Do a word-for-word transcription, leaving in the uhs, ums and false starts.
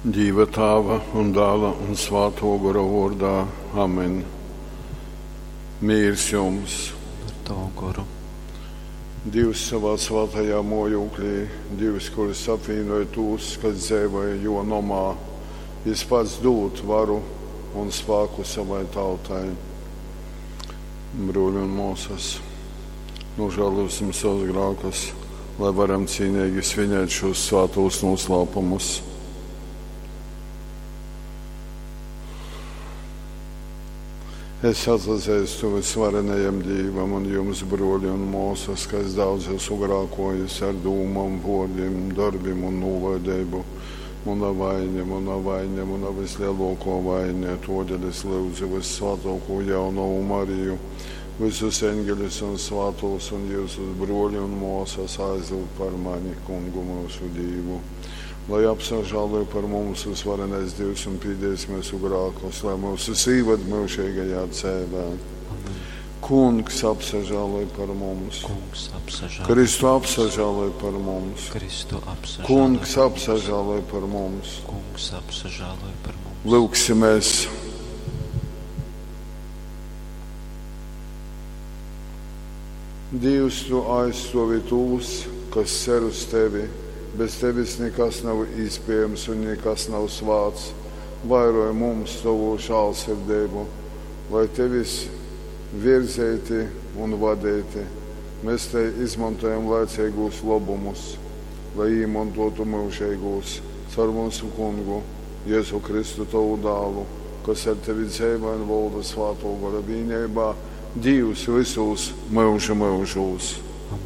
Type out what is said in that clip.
Dīva Tāva un Dāla un Svātō Gora vōrdā. Amen. Mīrs jums! Ar tavu goru. Dīvs savā svātajā mōjūklī, Dīvs, kurs apvīnoj tūs, kas dzeivoj jō nomā, Jys pats dūd varu un spāku savai tautai. Brōļi un mōsas, nožēlosim savus grākus, lai varam cīneigi svinēt šos svātos noslēpumus. Es atzeistu vysvarenajam Dīvam un jums, bruoļi un muosas, ka es daudz esmu grākojis ar dūmom, vuordim, dorbim un nūlaideibu. Muna vaine, muna vaine, muna vislielākā vaine, todēļ es lūdzu Vyssvātāko jaunavu Mariju, visus eņģeļus un svātos un jūsus bruoļi un muosas aizlūgt par mani, Kungu mūsu Dīvu. Lai apsažāloja par mums visvarenais Dievs un pīdēs mūsu grākus, lai mūsu īved mūžīgajā dzēvē. Amen. Kungs apsažāloj par mums. Kungs apsažāloj. Kristu apsažāloj par mums. Kristu apsažāloj. Kungs apsažāloj par mums. Kungs apsažāloj par mums. Lūgsimies. Dievs, tu aizstāvi tos, kas cer uz tevi. Bez tevis nekas nav iespējams un nekas nav svāts. Vairoj mums tavu žēlsirdību, lai tevis virzīti un vadīti. Mēs te izmantojam laicīgos labumus, lai iemantotu mūžīgos caur mūsu kungu Jēzu Kristu tavu dālu, kas ar tevi dzīvo un valda svāto gara vienībā, Dievs visos mūža mūžos.